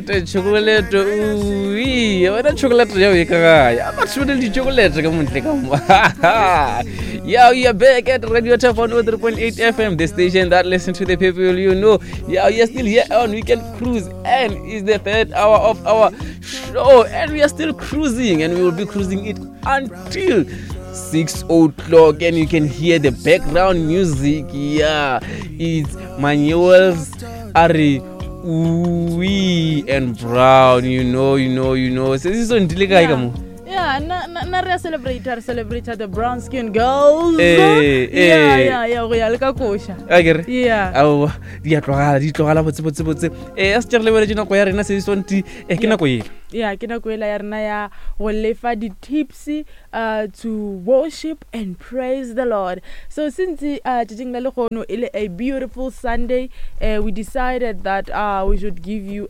Chocolate, ui, wena chocolate yeo e ka gae? A batho ba le di-chocolate ka montle ka mo. Yeah, we are back at Radio Top 103.8 FM, the station that listens to the people you know. Yeah, we are still here on Weekend Cruise, and it's the third hour of our show, and we are still cruising, and we will be cruising it until 6 o'clock, and you can hear the background music. Yeah, it's Manuel's Ari Uwi and Brown, you know, you know, you know. Se se sontile kae ka mo? Yeah, na na na re a celebrate, re celebrate the brown skin girls. Eh, Yeah, eh. yeah, yeah, go ya le ka koša. A ke re? Yeah. Aowa, di a tlogala, di tlogala botse botse botse. Eh, a se re lebeletše nako ya rena se sonti, eh ke nako ela. Yeah, ke nako ela ya rena ya go lefa di-tips to worship and praise the Lord. So since tšatšing la lehono e le a beautiful Sunday, we decided that we should give you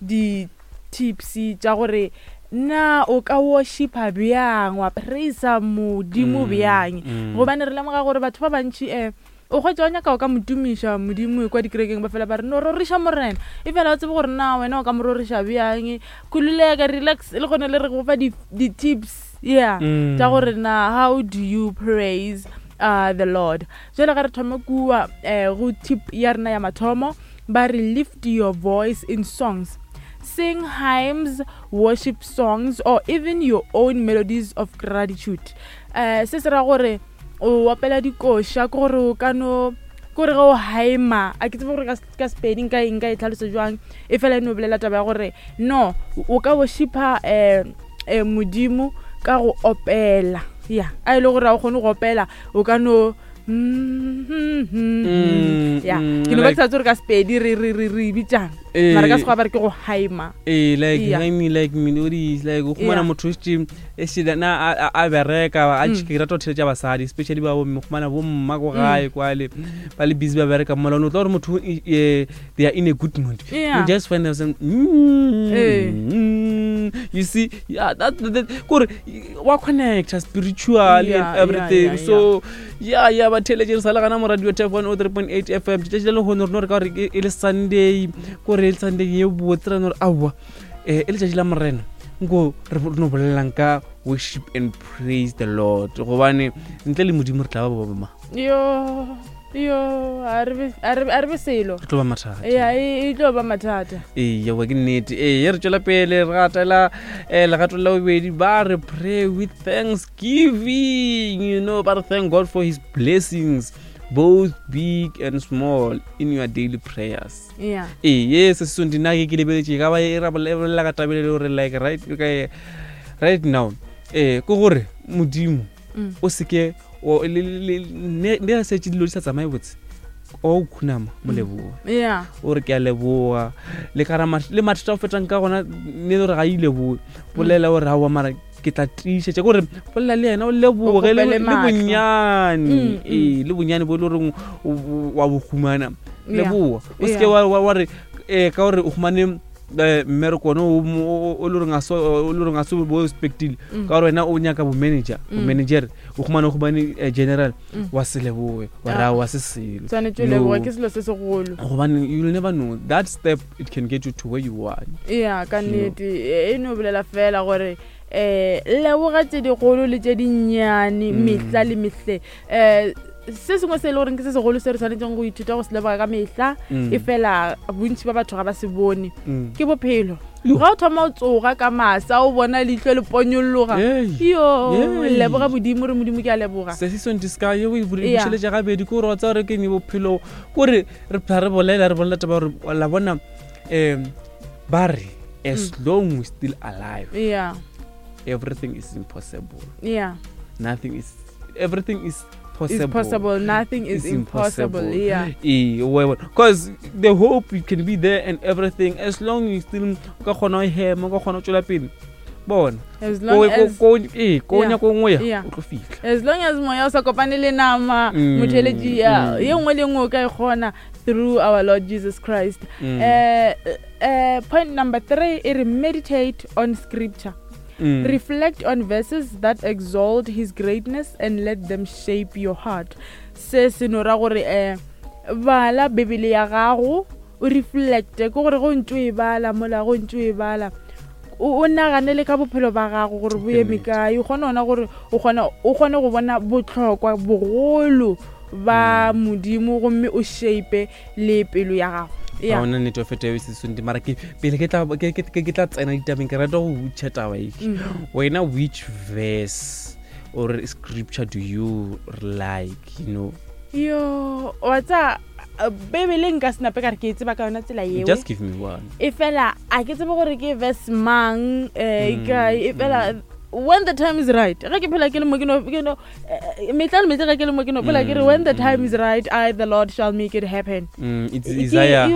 di tips tša gore na o ka worshipa bjang wa praisa modimo bjang gobane re lemoga gore batho ba bantši um O hwetša o nyaka o ka mo tumiša Modimo kwa dikerekeng ba fela ba re no roriša Morena. Efela o tsebe gore na wena o ka mo roriša bjang. Khululeka, relax, le gona le re go fa di, di tips yeah mm. tša gore na how do you praise uh, the Lord. Jwale ga re thome kua eh, go tip ya rena ya mathomo ba re lift your voice in songs. Sing hymns, worship songs or even your own melodies of gratitude. Uh, se se ra gore o opela dikoša ke gore o ka no kore ge o haema a ke tsebe gore ka sepedi nka nka e tlhalosa jwang e fela e no bolela taba ya gore no o ka worshipa um um modimo ka go opela ya a e le gore ga o kgone go opela o ka no Mm, ya mm, ke no ba like- ke sa tse gore ka sepedi re re re re bitsang Eh. mara ka sekgowa ba re ke go haema ee like Yeah. yeah. like melodies like o khumana Yeah. motho šetše e šetše na a- a a bereka a Mm. ke rata go theletša basadi especially ba bomme khumana bomma ko gae kwale ba le busy ba bereka mola o tla gore motho e- e, they are in a good mood Yeah. you just find themselves mm, Eh. mm, you see yeah that, that, that kore wa connecta spiritually Yeah, and yeah, everything yeah, so yeah yeah ba theletše re sa le gana mo radio tap 103.8 fm letšatši la lehono re no re ka gore e e le sunday kore e le sunday ye botse ra no re aowa um e letšatši la morena nko re no bolelelang ka worship and praise the lord gobane ntle le modimo re tla ba ba boma yo yo a re be- a re a re be selo re tlo ba mathata ya e e tlo ba mathata ee yawa ke nnete ee re tšwela pele re gatela um legato la bobedi ba re pray with thanksgiving you know ba re thank god for his blessings both big and small in your daily prayers yeah ee ye se se nna ke ke lebeletše ka ba e ra bolela ka tabele le gore like right ka right now ee ke gore modimo Mm. o seke ne a setse dilo di sa tsamaye botse o khunama mo leboa yeah o re ke a leboa le kara le mathata o fetang ka gona ne le gore ga ile leboe bolela gore aowa mara ke tla tiišetša kore bolela le yena o leboge O le kgopele le maatla. bonyane Mm, mm. ee le bonyane bo e le goreng wa bo humana Yeah. leboa o seke Yeah. wa wa- wa re um ka gore o humane eh, mmereko one o mo- o le goreng a se o le goreng a se bo expectile Mm. ka gore wena o nyaka bo-manager Mm. bo-manager o humane o humane eh, general Mm. wa se leboe wa Ah. ra wa se selo tshwanetse o No. leboga ke selo se segolo gobane you'll never know that step it can get you to where you want ya ka You know. nnete e no bolela fela gore um leboga tse dikgolo le tse dinnyane Mm. mehla le mehle um se sengwe se e le goreng ke se segolo se re tshwanetseng go ithuta go se leboga ka mehla Mm. e fela bontši ba batho ga ba se bone Mm. ke bophelo Yo. ga o thoma o tsoga ka masa o bona leitlho le ponyologa Hey. yo Hey. leboga modimo re modimo ke a leboga se se sonti se ka ye o e Yeah. bušeletša gabedi ke gore wa tseba gore ke eng bophelo kore re phela re bolela re bolela taba gore la bona um ba re as Mm. long we still alive yeah everything is impossible yeah nothing is everything is is possible possible nothing is impossible yeah ee because the hope you can be there and everything as long you still o ka kgona go hema o ka kgona go tswela pele bona as ko long as ko- ee ko Yeah. nyako nngwe ya Yeah. o tlo fitlha as long as moya o sa kopane le nama Mm, motheletši ya mm. ye nngwe le nngwe o ka e kgona through our lord jesus christ Mm. Eh, eh, point number three e re meditate on scripture Mm. reflect on verses that exalt his greatness and let them shape your heart se se no ra gore um bala bibele ya gago o o reflecte ke gore go ntse o e bala mola go ntse o e bala o nagane le ka bophelo ba gago gore bo eme kae o kgone ona gore o kgone o kgone go bona botlhokwa bogolo ba mm. modimo gomme o shape le pelo ya gago ya ona nnete o feta eo sesonte mara ke pele ke tla ke ke tla tsena ditabeng ke rata go butšha taba e mm. wena which verse or scripture do you like you know yo wa tsa bebele nka senape ka re ke e tseba ka yona tsela yeo just give me one e fela a ke tsebe gore ke verse mang um e fela mm. when the time is right ge ke phela ke le mo ke no ke no eh, metla le metla ge ke le mo ke no phela ke re when the time is right I the Lord shall make it happen mm, it's Isaiah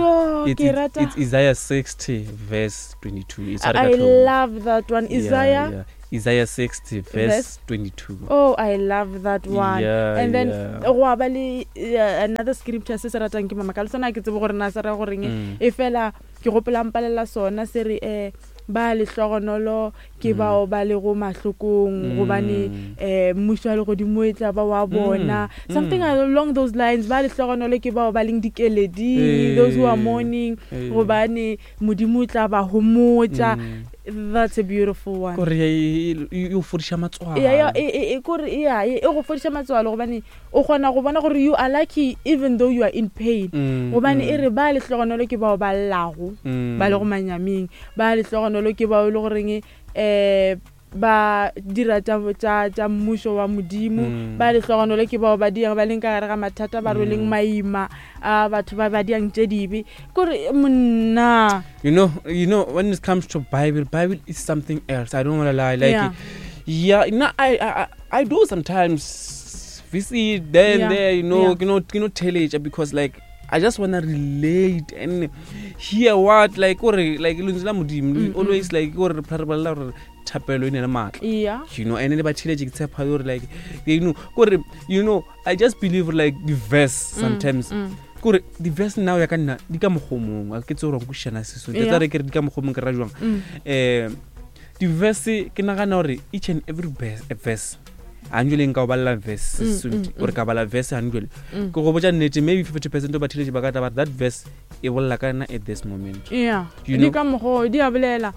it's, it's, it's Isaiah 60 verse 22 it's I love that one Isaiah yeah, yeah. Isaiah 60 verse 22. Oh, I love that one. Yeah, and then yeah. go ba le uh, another scripture se se ratang ke mama ka le sona ke tsebe gore na se ra goreng mm. e fela ke gopola mpalela sona se re eh ba lehlogonolo ke mm. bao ba lego mahlokong mm. gobane um mmušo wa legodimo e tla ba wa mm. bona mm. something mm. along those lines ba lehlogonolo ke bao ba leng dikeleding hey. those who are mourning hey. gobane modimo o tla ba homotša mm. that's a beautiful one kore e o fodiša matswalo kore ya e go fodiša matswalo gobane o kgona go bona gore you are lucky even though you are in pain mm, gobane e mm. re ba lehlogonolo ke bao ba llago ba le go manyaming ba lehlogonolo ke bao e le goreng um ba dira tša, tša, tša mmušo wa Modimo. Mm. Ba lehlogonolo ke bao ba diang ba leng ka gare ga mathata, ba rweleng mm. maima a batho ba ba diang tše dibe. Kore monna. You know, you know, when it comes to Bible, Bible is something else. I don't want to lie. Like, yeah, yeah no, I, I, I do sometimes visit there and yeah. there, you know, yeah. you know, you know, tell it because like I just wanna relate and hear what like gore like lentswe la modimo mm, always mm. like gore re phela re bolela gore thapelo e ne le maatla yeah. you know and le ba theletše ke tshepa gore like you know gore you know I just believe like the verse mm, sometimes mm. kore the verse now ya ka nna di ka mokgomong a ke tse gore nkwešišana seso ke tsa re ke re di ka mokgomong ke ra jwang um di-verse ke nagana gore each and every verse anjole nka o balela verse mm, mm, mm. ore ka bala verse anjole mm. ke go botša nnete maybe 50 percent of batheletši ba ka tla ba that verse e bolela ka nna at this moment yeah you know? di ka mokgo di a bolela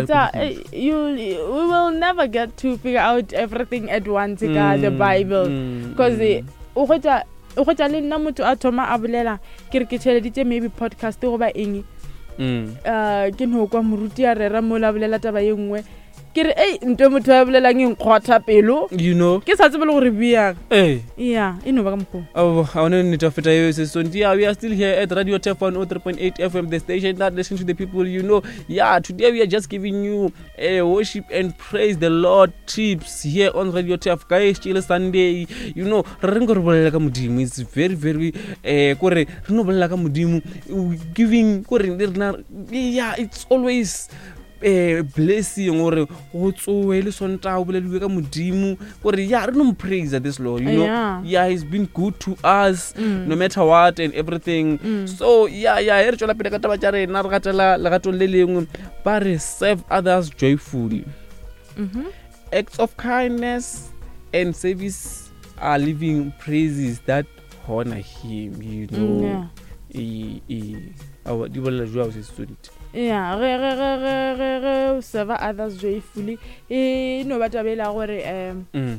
Tsa, eh, you we will never get to figure out everything at once ka mm, the bible because mm. o hwetša o hwetša le nna motho a thoma a bolela ke re ke tšheleditše maybe podcast goba eng mm. uh, ke no kwa moruti a rera mo la bolela taba ye nngwe ke re ei nto motho a bolelang e nkgwatha pelo you know ke sa tsebe le gore bjang ee ya e no ba ka mokgwa Oh, I want to need feta eo se sonti. Yeah, we are still here at Radio Tef 103.8 FM, the station that listens to the people you know. Yeah, today we are just giving you a worship and praise the Lord tips here on Radio Tef. Guys, chill Sunday. You know, re reng re bolela ka modimo. It's very very eh kore re no bolela ka modimo giving kore re na yeah, it's always um blessing gore go tsoe le sontaga o boleliwe ka modimo gore ya re no mo praise this lord you know Yeah. yeah he's been good to us mm. no matter what and everything mm. so yeah yeah e re tswela pele ka taba tša rena re gatela legatong le lengwe ba re serve others joyfully mm -hmm. acts of kindness and service are living praises that honor him you know mm, yeah. e, e, awa di bolela jwang se student ya ge ge ge ge ge ge o serve others joyfully e no ba taba e la gore um mm.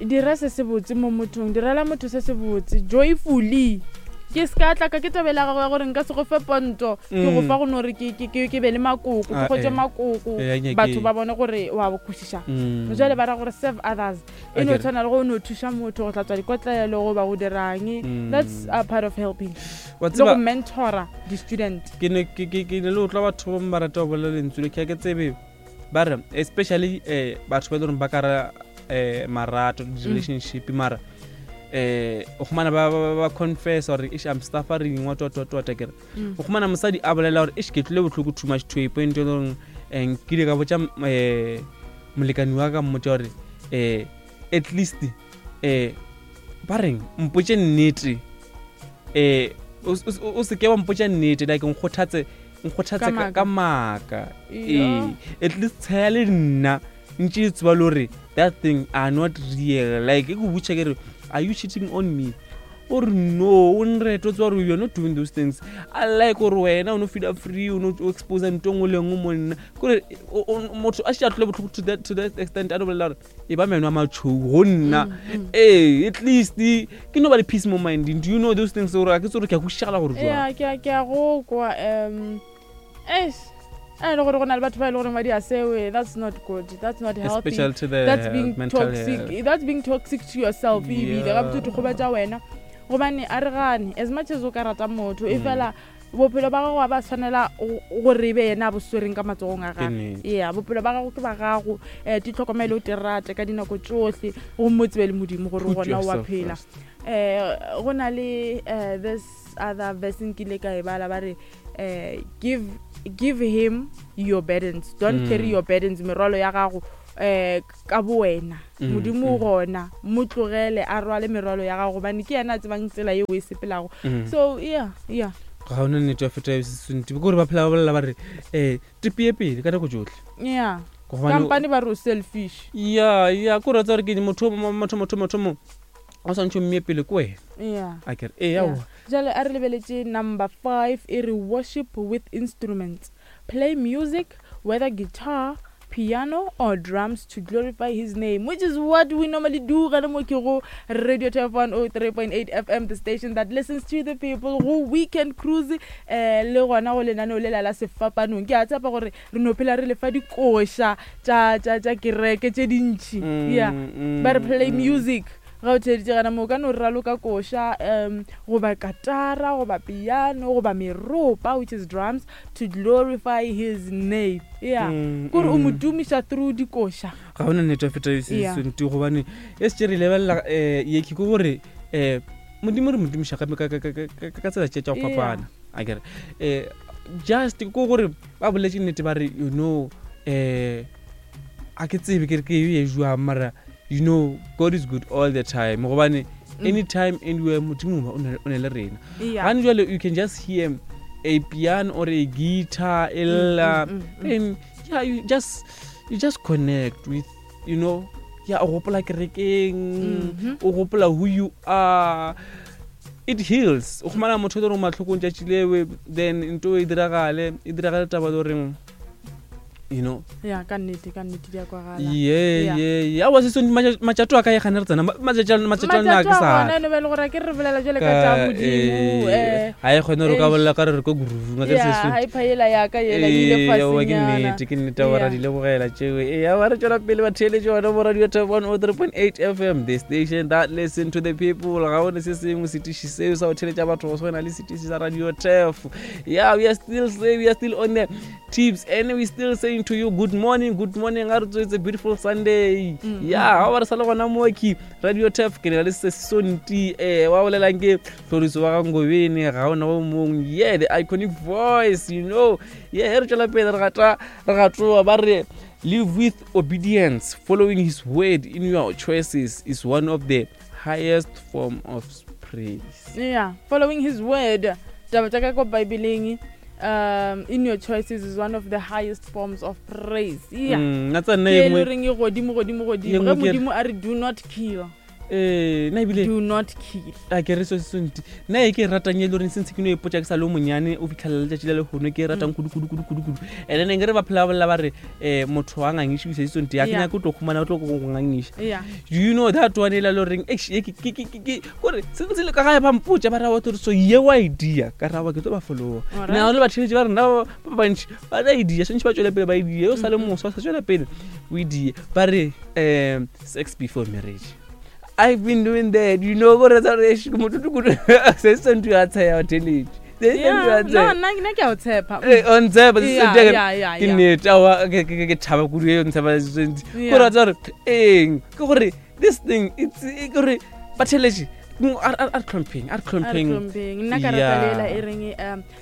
dira se se botse mo mothong direla motho se se botse joyfully ke se ka tla ka ke tabela gago ya gore nka se go fe ponto ke go mm. fa go no re ke be le makoko ke ah, kgotse eh. makoko eh, batho ba bone gore wa kwešiša mm. jale ba ra gore serve others e no tshwana le go no thuša motho go tlatswa dikotlelo goba go dirang mm. that's a part of helping le go mentora di-student ke ne le utlwa batho ba ba rata go bolela lentswe le ke ke tsebe ba re especially um batho ba e le goreng ba kara um marato di-relationship mara um o kgomana ba confess gore ish i'm suffering what what what what kere mm. o kgomana mosadi a bolela gore ish ke tlile botlhoko too much to a point e le goreng um nkile ka botša um molekani wa ka mmotša gore um at least um ba reng mpotše nnete um o seke wa mpotša nnete like nkgothatse nkgothatse ka maaka ee at least tshaya le nna ntše e tseba le gore that thing are not real like e ko botša ke re are you cheating on me O re no, o nrete, o tseba gore you are not doing those things. I like gore wena o no feela free, o no o expose ntho e nngwe le e nngwe mo nna. Kore motho a šetše a tlole bohloko to that extent, a no bolela gore e ba meno a matšhou go nna. Ee, at least ke no ba le peace mo minding. Do you know those things gore a ke tse gore ke a kwešišagala gore jwang? Yeah, ke a go kwa, eish, a e le gore go na le batho ba e le goreng ba di a sewe. That's not good, that's not healthy. Especially to the That's being mental toxic. health. That's being toxic to yourself ebile. Gabotse o dikgoba tša wena, gobane a re gane, as much as o ka rata motho, e fela bophelo ba gago ga ba tshwanela gore e be yena a bo swereng ka matsogong a Ke gagwe. nnete. Yeah, bophelo ba gago ke ba gago, ditlhokomelo o di rate ka dinako tšohle, gomme o tsebe le Modimo gore Put gona o a yourself phela. first. Go na le this other verse nkile ka e bala, ba re, give him your burdens, don't carry your burdens, merwalo ya gago, ka bo wena. Modimo gona, mo tlogele a rwale merwalo ya gago, gobane ke yena a tsebang tsela yeo e sepelago. So, yeah, yeah. Ga ona nnete ya feta sesonti, ke gore ba phela ba bolela ba re, tepie pele ka nako tšohle. Yeah. Gobane o Kampane ba re o selfish. Yeah, yeah, ke gore wa tseba gore ke motho o motho, motho, motho mo, o swantšhe o mmeye pele ke wena. Yeah. A ke re, ee, Yeah. aowa. Jwale a re lebeletše number 5, e re worship with instruments. Play music, whether guitar, piano or drums, to glorify his name, which is what we normally do. Gana mo ke go Radio Turf 103.8 FM, the station that listens to the people, go weekend cruise, le gona go lenaneo le la la sefapanong. Ke a tshepa gore re no phela re lefa dikoša tša kereke tše dintši. Yeah. Ba re play music. Ga o theeditše gana mo, o ka no raloka koša, goba katara, goba piano, goba meropa, which is drums, to glorify his name. Yeah. Kore o mo tumiša through dikoša. Ga ona nnete ya feta se Yeah. sentse, gobane e se re lebelela, ye ke gore, Modimo re mo tumiša ka tsela tše tša go Yeah. fapana. A ke re, just ke gore ba boletse nnete ba re, you know, a ke tsebe ke re ke e jwang, mara you know, God is good all the time. Gobane anytime, anywhere, Modimo o na le rena. Yeah. Gane jwale you can just hear a piano or a guitar e lla, then yeah, you just connect with, you know, yeah, o gopola kerekeng, o gopola who you are. It heals. O khumana motho o le gore mahlokong tšatši lewe, then ntho e diragale, e diragale taba le goreng, you know. Yeah, ka nnete, ka nnete di a kwagala. Yeah, Yeah. yeah, yeah. Aowa, se sone, matšato a ka e gane re tsena, matšato a nna a ke Matšato a sa gona, e no ba e le gore a ke re bolela jwale ka Ka, tša Modimo, ha e kgone gore o ka eish. bolela ka re re ko groove-ing, a ke re se Yeah, sone. ha e phaela ya ka yela, e ile Ee, aowa, ke fasenyana. nnete, ke nnete, aowa, ra Yeah. di lebogela tšeo. Ee, aowa, re tšwela pele ba theeletše gona mo Radio Top 103.8 FM, the station that listen to the people. Ga one se sengwe setiši seo sa go theeletša batho go swana le setiši sa Radio Turf. Yeah, we are still say, we are still on the tips, and we still saying to you good morning, good morning. A re tswetse, it's a beautiful Sunday. Yeah, ha ba re sa le gona mo ke Radio Turf, ke na le Sesonti, wa bolelang ke Tlhoriso wa ga Ngobeni, ga ona o mong. Yeah, the iconic voice, you know. Yeah, re tšwela pele, re gata, re gatoa, ba re live with obedience, following his word in your choices is one of the highest form of praise. Yeah, following his word. Taba tša ka ko Bibeleng, in your choices is one of the highest forms of praise. Yeah. Nna tsa nna Ke e e nngwe le goreng e godimo, godimo, godimo. E nngwe Ge ke re Modimo a re do not kill. Nna ebile Do not kill. A ke re so se sentse. Nna e ke e ratang e le goreng sentse ke no ipotsa ke sa le o monyane, o fitlhelela letšatši le lehono, ke e ratang kudu, kudu, kudu, kudu, kudu. And then nkere ba phela ba bolela ba re, motho wa ngangiše o se sentse, ya ke Yeah. nyake o tlo khumana, o tlo go ngangiša. Yeah. Do you know that one e la le goreng, eish, e ke, ke, ke, ke, ke, kore sentse le ka gae ba mpotša, ba ra wa tlo re, so ye wa idea, ka ra wa ke tlo ba follower. Alright. Nna le batheeletši ba rena ba bantši, ba na idea, swantše ba tšwele pele ba idea, o sa le moswa, o sa tšwela pele o idea. Ba re, sex before marriage. I've been doing that, you know, gore tsa re, eish, motho ke kudu. Se se ntho ya tsheya wa theeletše. Se se ntho ya Yeah, no, tsheya. nna ke a o tshepa. Eh, o ntshepa, se se Yeah, ntho ya yeah, yeah, ke yeah. nnete, aowa, ke thaba kudu e o ntshepa se se ntho. Yeah. Gore wa tseba gore, eng, ke gore this thing, it's, e, ke gore ba theeletše, a re hlompheng, a re A re hlompheng. hlompheng. Nna ka rata Yeah. lela e reng,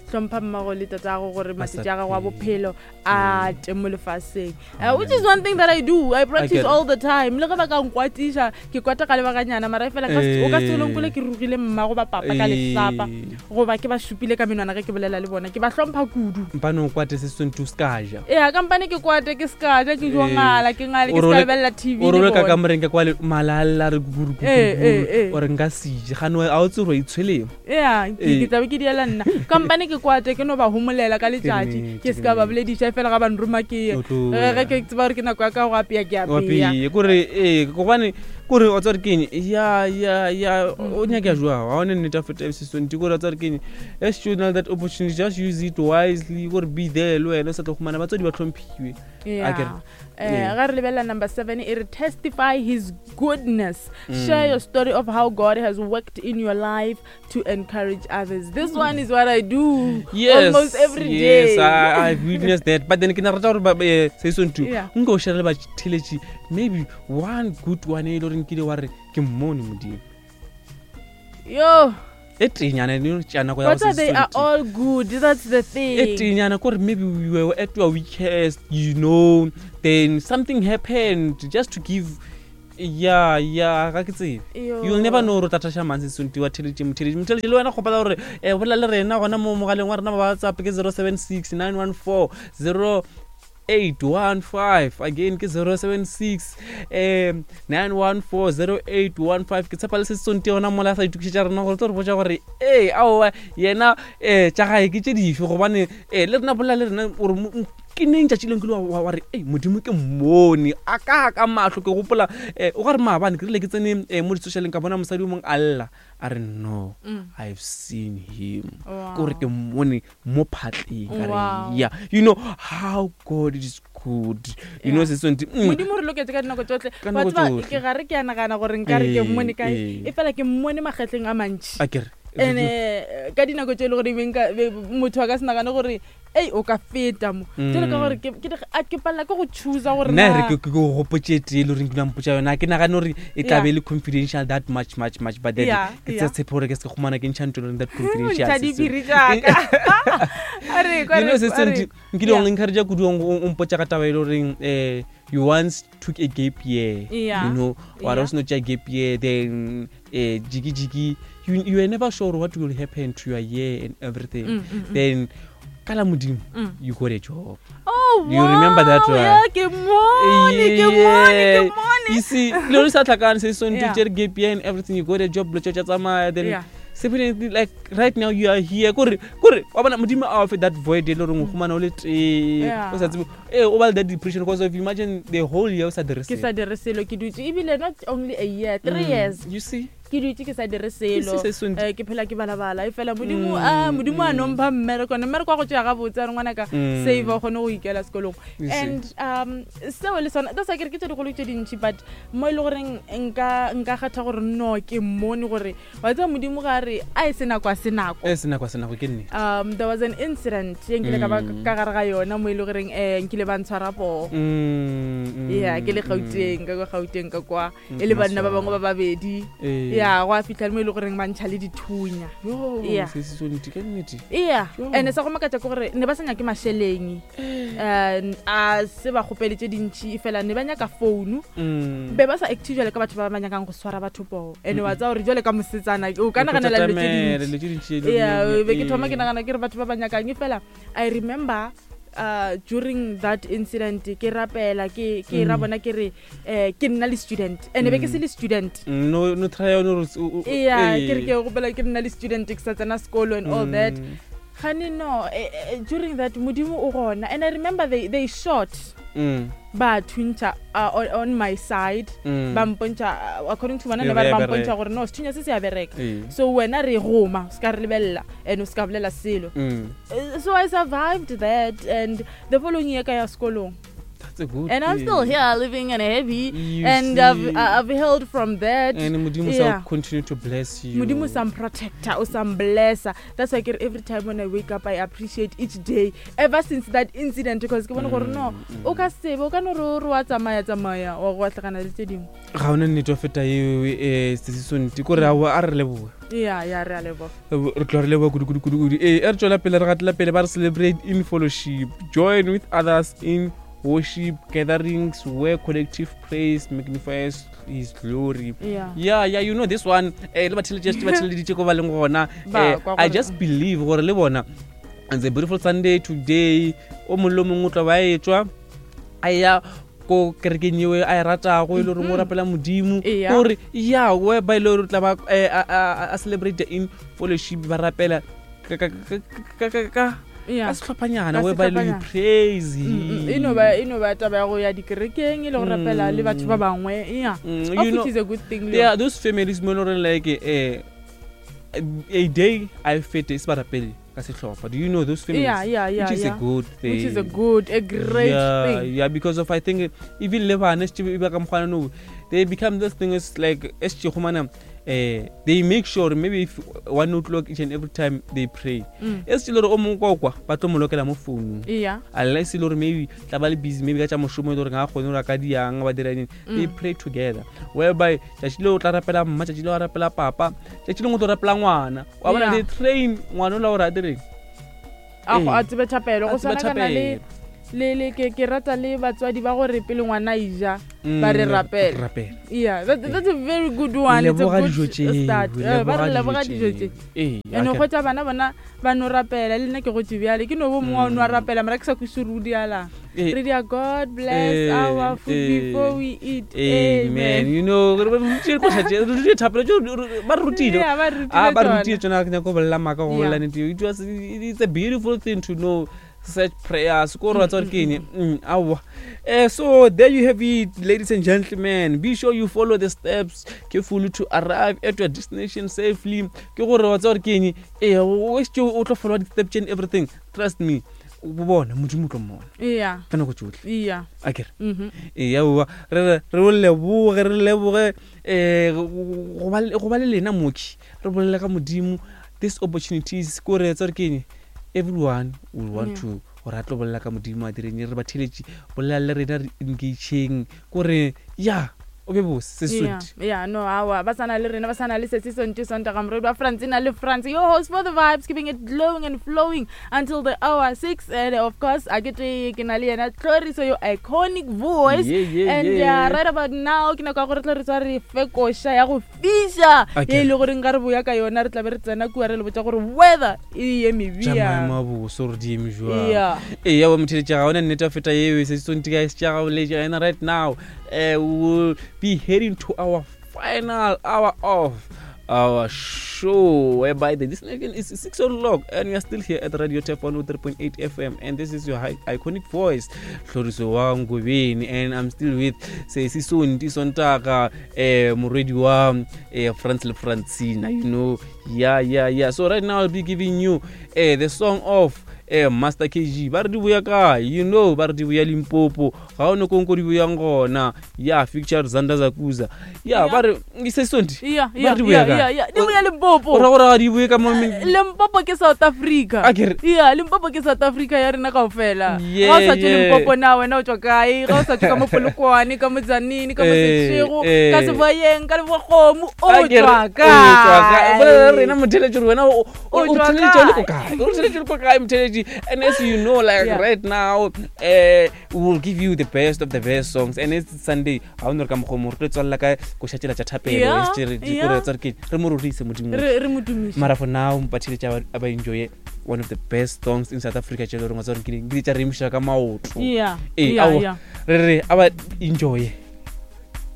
hlompha mmago le tatago gore Ba sa matšatši a gago a phele. bophelo a te mo lefaseng. Which is one thing that I do. I practice get it. all the time. Le ge ba ka nkwatiša, ke kwata ka lebakanyana, mara e fela ka o ka se o nkole ke rugile mmago ba papa ka lehlapa, goba ke ba šupile ka menwana ge ke bolela le bona. Ke ba hlompha kudu. Mpane o kwate se sentse o se ka ja. Ee, kampane ke kwate ke se ka ja, ke jo ngala, ke ngale, ke O se ka role lebelela TV o le role ka bona. kamoreng ka kwale, mala a lla, re kukuru, kukuru, Eh, eh, kukuru. eh. O re nka se se je gane a o tsere wa itshweleng ya ke tlabe ke diela nna kampane ke kwate ke no ba homolela ka letšatši ke se ka ba bolediša fela ga ba nroma ke ye ge ke tseba gore ke nako ya ka go apea ke apea kore ee gobane kore wa tsare keng ya ya ya o nyaka jwa ga one nnete a feta sesonti kore wa tsare keng as you know that opportunity just use it wisely kore be there le wena o sa tlo gomana batswadi ba tlhomphiwe yeah. Eh, ga re lebelela number 7 e re testify his goodness mm. share your story of how god has worked in your life to encourage others this mm. one is what i do yes, almost every yes, day I, i've witnessed that but then ke na rata gore eh, se song too nka o share le batheletši maybe one good one e le goreng kile wa re ke mmone modimo yo e tenyana ne tša nako ya go they are all good that's the thing e tenyana kore maybe we were at your weakest you know then something happened just to give ya ya ga ke tsebe you'll never know gore tla thasha mang sesonti wa theletše motheletše motheletše le wena kgopela gore um bolela le rena gona mo mogaleng wa rena ba whatsapp ke 076 914 0 815 again ke 076 um 9140815 ke tshepa le se setsonte yona mola a sa itokišetša rena gore tlo re botša gore ee aowa yena um tša gae ke tše dife gobane um le rena bolela le rena gore ke neng tšatši leng ke le wa re ei modimo ke mmone a ka ka mahlo ke gopola um o ka re maabane ke rile ke tsene um mo di-socialeng ka bona mosadi o mongwe a lla a re no i've seen him ke gore ke mmone mo phatleng ka re yeah you know how god is good you know se sentse mm. modimo re loketse ka dinako tsotlhe wa tseba ke gare ke a nagana gore nkare ke mmone kae e fela ke mmone magetleng a mantši ene ka dinako tse e le gore motho a ka se nagane gore ei o ka feta mo mm. jalo ka gore ke palela ke go choosa gore nna re ke go gopotse tee le goreng ke mpotsa yona ke nagane gore e tla be le confidential that much much much but then ke tse tshepe gore ke se ke gomana ke ntšha ntho that confidential diphiri tsaka you know se se nkile o encourage kudu o mpotsa ka taba e le goreng eh you once took a gap year you know wa re o seno tša gap year then eh jiki jiki you, you are never sure what will happen to your year and everything mm, mm, mm. then kala modimo mm. you got a job oh, you wow. remember that one yeah, ke mone ke mone ke mone you see le re sa tlhakane se so ntse yeah. gap year and everything you got a job lo tša tsamaya then yeah. Sepenetly, like right now you are here kore kore wa bona modimo a ofe that void e le goreng o humana o le tee o sa tsebe ee o ba le that depression because of imagine the whole year o sa dire ke sa dire selo ke dutse ebile not only a year three mm. years you see ke dutse ke sa dire selo eh, ke phela ke balabala e fela modimo mm, a modimo a mm. nompha mmereko ne mmereko wa go tšea gabotse a re ngwana ka mm. save o kgone go ikela sekolong and um seo le sona that's why ke re ke tse digolo tse dintšhi but mo e le goreng nka nka kgatha gore no ke mmone gore wa tseba modimo ga re a e se nako a se nako e se nako a se nako ke nnete um there was an incident ye nkile ka ba mm. ka gare ga yona mo e le goreng um nkile ba ntshwara poo mm, mm, ya ke le gauteng ka kwa gauteng ka kwa e le banna ba bangwe ba babedi ya go a fitlha le mo e le goreng ba ntšha le dithunya ya yeah and sa go makatša ke gore ne ba sa nyake mašeleng um a se ba kgopele tše dintšhi fela ne ba nyaka founu mm. be ba sa active jale ka batho ba ba nyakang go swara batho poo and wa tsaya gore jale ka mosetsana o ka naganela dilo tše dintši ya be ke thoma ke nagana ke re batho ba ba nyakang e fela i remember uh, during that incident ke rapela ke ke ra mm. bona ke re eh ke nna le student and be ke se le student mm, no no try no yeah ke re ke gopela ke nna le student ke sa tsena sekolo and all that Gane no, eh, eh, during that modimo o gona and I remember they, they shot mm. ba thuntšha uh, on, on my side mm. ba mpontšha uh, according to bona ne ba re ba mpontšha gore no sethunya se se a bereka ee. so wena re goma o se ka re lebelela and o se ka bolela selo mm. Eh, so I survived that and the following year ka ya sekolong That's a good and I'm thing. still here living and happy You and I've, see. I've healed from that And Modimo yeah. shall continue to bless you. Modimo some protector o some blesser. That's why ke re every time when I wake up I appreciate each day ever since that incident because ke bone gore no Mm, o ka sebe o ka no re o re wa tsamaya tsamaya wa go atlhagana le tse dingwe ga ona nnete wa feta eo um sesisonti kore a re leboga ya ya re a leboga re tloga re leboga kudu kudu kudu kudu ee e re tswela pele re gatela pele ba re celebrate in fellowship join with others in worship gatherings where collective praise magnifies his glory yeah yeah yeah you know this one eh le batheletše ba theleditše ko ba leng gona Ba eh, kwa i gore- just believe gore le bona it's a beautiful sunday today o mongwe le o mongwe o tla ba etšwa a ya ko kerekeng eo a e ratago e le goreng o rapela modimo Eya. gore ya whereby e le gore o tla ba eh, a- a a celebrate in fellowship ba rapela ka- ka- ka- ka- ka- ka Yeah. ka sehlophanyana Ka whereby you sehlophanyana. praise Mm, him. e no ba e no ba taba ya go ya dikerekeng e le go rapela le batho ba bangwe yeah Mm, of you know, which is a good thing le yeah those families mo e le goreng like eh, a day a e fete e se ba rapele ka sehlopha do you know those families Yeah, yeah, yeah, which is yeah. a good thing which is a good a great yeah, thing yeah because of i think even le bana e ba ka mokgwana no they become this thing is like e se gomana eh they make sure maybe if 1 o'clock each and every time they pray e se le gore o mongwe kwa kwa ba tlo mo lokela mo founung yeah unless e le gore maybe tla ba le busy maybe ka tša mošomo e le gore ga a kgone gore a ka diang ba dira eng they pray together whereby tšatši leo o tla rapela mma tšatši leo a rapela papa tšatši lengwe o tlo rapela ngwana wa bona Yeah. they train ngwana o la gore a direng a go Ee. a tsebe thapelo A go tsebe tshwana kana le thapelo. le le ke ke rata le batswadi ba gore pele ngwana a ija ba re Mm, rapela rapela yeah that, that's a very good one it's a leboga good dijo tšeo start Eh, ba re leboga dijo tše ee and go tša bana bona ba no rapela le nna ke gotse bjale ke no bo mongwe wa o no a rapela mara ke sa kwese re o dialang Mm. Eh. re dia god bless Eh, our food eh. before we eat amen you know re re rutile koša tše, re rutile thapelo tšeo, re- ba re rutile Yeah, ba re rutile Ah, ba re tsona. rutile tsona ke nyaka go bolela maaka go Yeah. bolela nnete it was it's a beautiful thing to know such prayers ko re wa tseba gore ke eng Mm, aowa Eh, so there you have it ladies and gentlemen be sure you follow the steps carefully to arrive at your destination safely ke gore wa tseba gore ke eng ee o šetše o tlo followa di-steps and everything trust me o bona modimo o tlo mmona yeah ka nako tsotlhe yeah a kere mhm ee aowa re re re o leboge re leboge um go ba le lena moki re bolele ka modimo this opportunities ko re etsa gore ke eng everyone will want Yeah. to gore a tlo bolela ka modimo a direng re ba theletše bolela le rena re engageng kore ya o be bose se Yeah, sweet yeah, no, awa, ba sana le rena, ba sana le sesi sonto Sontaga moredi wa Francina le France, your host for the vibes, keeping it glowing and flowing until the hour 6. And of course, a ke tle ke na le yena Tlhoriso, your iconic voice. Yeah, yeah, and yeah. right about now, ke nako ya gore Tlhoriso a re fe koša ya go fiša Okay. ye e le goreng ga re boya ka yona re tlabe re tsena kua re le botša gore weather e eme tša maemo bjang. a boso gore di eme jwang Yeah. ee ya motheletša ga ona nnete wa feta eo se sonti ka se tša gago letša ena right now uh, we will be heading to our final hour of our show whereby the destination is 6 o'clock and we are still here at radio tap 103.8 fm and this is your iconic voice tlhoriso wa ngobeni and i'm still with sesi sonti sontaka eh morwedi wa eh, france le francina you know yeah yeah yeah so right now i'll be giving you eh, the song of eh, master kg ba re di boya kae you know ba re di boya limpopo ga o ne konko di boyang gona ya feature zanda zakuza ya ba re se sonti Yeah, ba yeah, re di boya yeah, kae yeah, yeah. Di boya Limpopo. o ra gore ga di boye ka mo Limpopo ke South Africa. A ke re- Yeah, Limpopo ke South Africa ya rena kaofela. Yeah, Ga o sa tswe yeah. Limpopo na wena o tswa kae? Ga o sa tswe ka mo Polokwane, ka mo Tzaneen, ka mo Eh, Seshego, eh. ka Seboyeng, ka Lebogomo, o A ke re, tswa o tswa kae? kae? Bolela le rena motheletši gore wena o O o tswa theletše o le ko kae? kae o theletše o le ko kae motheletši and as you know like Yeah. right now uh, we will give you the best of the best songs and it's sunday ga o ne re ka mokgwa mo re tlo tswalela ka koša tsela tša thapelo Yeah, e se re- di- yeah. kore tsa re ke- re mo rorise modimo Re re mo tumiše. mara for now batheletši a ba enjoye one of the best songs in south africa tše e le goreng wa tsa gore ke di tša re emiša ka maoto Yeah, ee yeah, aowa yeah. re re a ba enjoye.